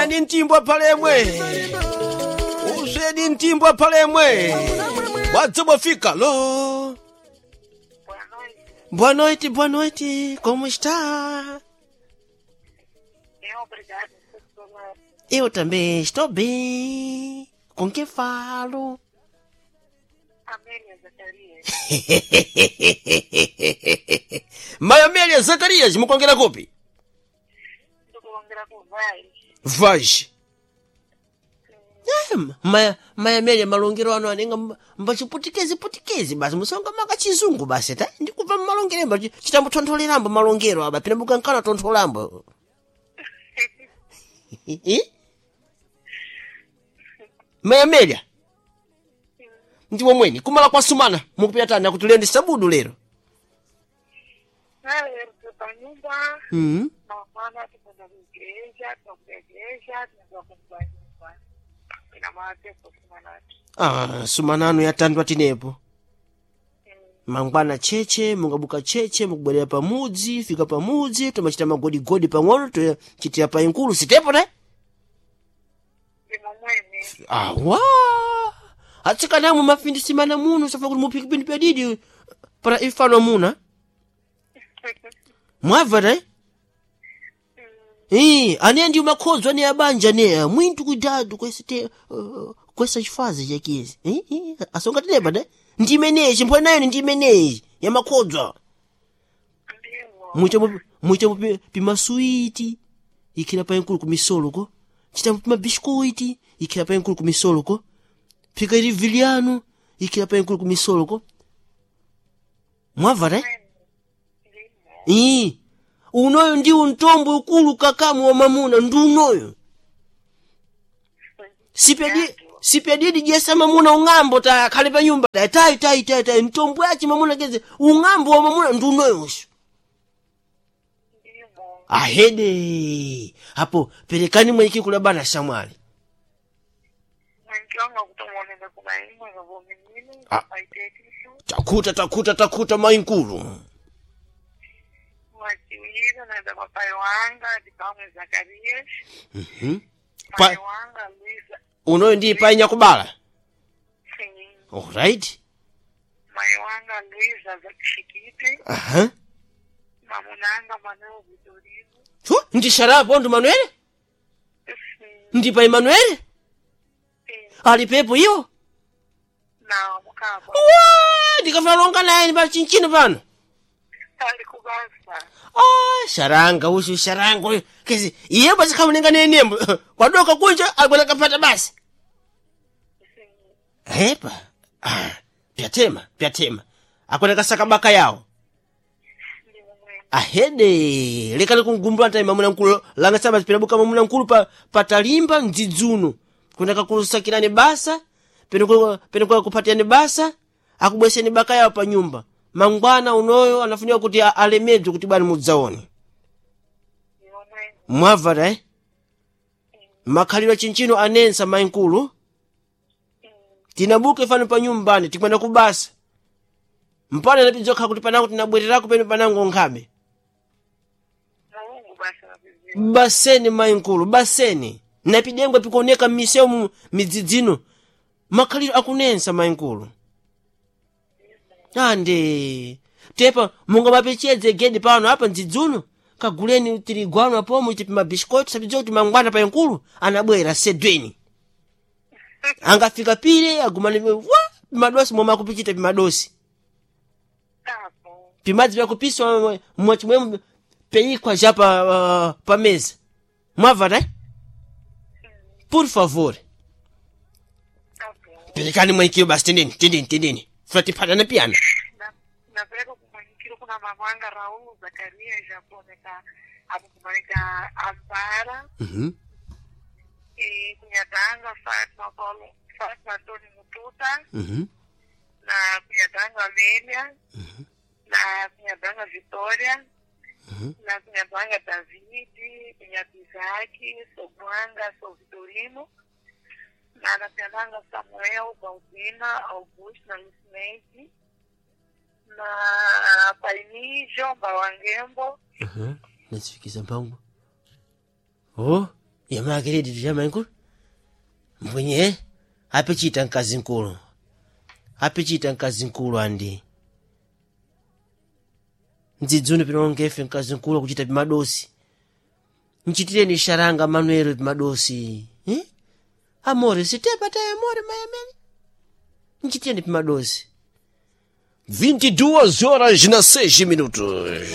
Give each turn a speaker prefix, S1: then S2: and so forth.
S1: Usweni mtimbwa palemwe, usweni mtimbwa palemwe, wadzobofika lo.
S2: Boa noite.
S1: Boa noite, boa noite, como está?
S2: Bem, obrigada. Professora.
S1: Eu também estou bem. Com quem falo?
S2: Amélia Zacarias.
S1: Mayamélia Zacarias, mukongera kupi?
S2: Ndikuongera kuvai.
S1: Vaz. Eh, maya mayamélia malongero ano anenga mbachiputikezi putikezi basi musonga maka chizungu basi ta ndikubva mmalongero mba chitambotontholerambo malongero aba pina mukankana tontholambo. Eh? Mayamélia ndiwo mweni kumala kwa sumana mukupita tani akutulende sabudu lero.
S2: Lero panyumba
S1: Mm.
S2: mangwana tikwenda kuigreja, tinokuda igreja, tinokuda kumba nyumba. Ina mate kusumanati.
S1: Ah, sumanano yatandwa tinepo. Mangwana cheche mungabuka cheche mukubwerera pamudzi fika pamudzi tomachita magodigodi pang'ono tochitira pa inkulu sitepo ne.
S2: Ndimo mwene.
S1: Awa atsikanamwe mafindisimana muno safa kuti muphike pindu pyadidi para ifano muna mwabva te. Eh, ane ndi makhodzo ane abanja ne mwintu kuidadu kwesite kwesa chifazi chakizi. Eh, eh, asonga tinepa ne ndi imeneyi chimpho nayo ndi imeneyi ya makhodzo.
S2: Ndimo.
S1: Muite pimasuiti ikhira pa inkulu kumisoloko chita pimabiskuiti ikhira pa inkulu kumisoloko phika ili viliano ikhira pa inkulu kumisoloko mwabva te.
S2: Mwene. Ndimo.
S1: Ii, unoyo ndi untombo ukulu kakamu wa mamuna ndi unoyo. Sipyadidi jesa mamuna ung'ambo ta khale pa nyumba ta tayi tayi tayi tayi mtombo yachi mamuna keze ung'ambo wa mamuna ndi unoyo usho.
S2: Ndimo.
S1: Ahede apo perekani mwenyeki kula bana shamwali.
S2: Mwenkiwanga kutomoneza kumaimwe ngavominini.
S1: Ah.
S2: Paitetisu.
S1: Takuta takuta takuta mainkulu.
S2: Mwachiwira naenda kwa pai wanga, ndipamwe Zacarias.
S1: Mhm.
S2: Pai wanga Luisa.
S1: Unoyo ndi pai nyakubala.
S2: Sim.
S1: Alright.
S2: Mai wanga Luisa Zakishikiti.
S1: Aha.
S2: Mamunanga Manuel Vitorino.
S1: Chu, ndi sharapo ndi Manuel?
S2: Sim.
S1: Ndi pai Manuel?
S2: Sim.
S1: Ali pepo iyo?
S2: Na mukaba.
S1: Wa, ndikafuna longa naye pa chinchino pano.
S2: Ali kubasa.
S1: Ah, sharanga usu sharanga uyu. Kezi iye basi kamulenga nenembo. Kwadoka kunja akwenda kapata basi.
S2: Sim.
S1: Hepa. Ah, pyatema, pyatema. Akwenda kasaka baka yawo.
S2: Ndimo mwene.
S1: Ahede, lekani kungumbula ntayi mamuna nkulu langa saba pinabuka mamuna nkulu pa patalimba mdzidzuno. Kwenda kakusakirani basa, peno kwa kupatiyani basa, akubweseni baka yawo pa nyumba. Mangwana unoyo anafunika kuti alemedzwe kuti bwana mudzaone.
S2: Ndimo mwene.
S1: Mwavara eh? Makhalidwe chinchino anensa mainkulu. Tinabuka ifano pa nyumbani tikwenda kubasa. Mpana napidzoka kuti panango tinabwererako peno panango nkhabe.
S2: Mulungu basa nabiziwa.
S1: Baseni mainkulu baseni napidengwe pikuoneka m'miseu midzidzino makhaliro akunensa mainkulu. Ande tepa mungamapechedze gedi pano apa mdzidzuno kaguleni tirigwano apomo iti pimabisikoto sapidziwa kuti mangwana pa inkulu anabwera sedweni angafika pile agumane wa pimadosi momwe akupichita pimadosi.
S2: Tapo.
S1: Pimadzi vyakupiswa mwachimwemo peyikwa ja pa, pa mesa mwabva ta. Por favor.
S2: Tapo.
S1: Perekani mwenyekiro basi tendeni tendeni tendeni fulatiphatana piyana.
S2: Napeleka kumanyikiro kuna mamanga Raul Zacarias japoneka apo kumanika Ampara.
S1: Mhm.
S2: E kunyatanga Fatma Paulo Fatma Antônio Mututa.
S1: Mhm.
S2: Na Cunhadanga Amélia, na Cunhadanga Vitória, na Cunhadanga David, Cunhado Isaac, Sobuanga, Sou Vitorino, na Cunhadanga Samuel, Baldina, Augusto, na Lucineide, na Paini, João Bawangembo,
S1: Mhm. Nasifikiza mpango. Oh. Yamakeredi tiyamankulu mbwenye apichita mkazi mkulu, apichita mkazi mkulu andi mdzidzuni pinongefe mkazi mkulu akuchita pimadosi. Nchitireni sharanga Manuelo pimadosi, eh? Amore sitepa taye amore mayamene nchitireni pimadosi.
S3: 22 horas na 6 minutos.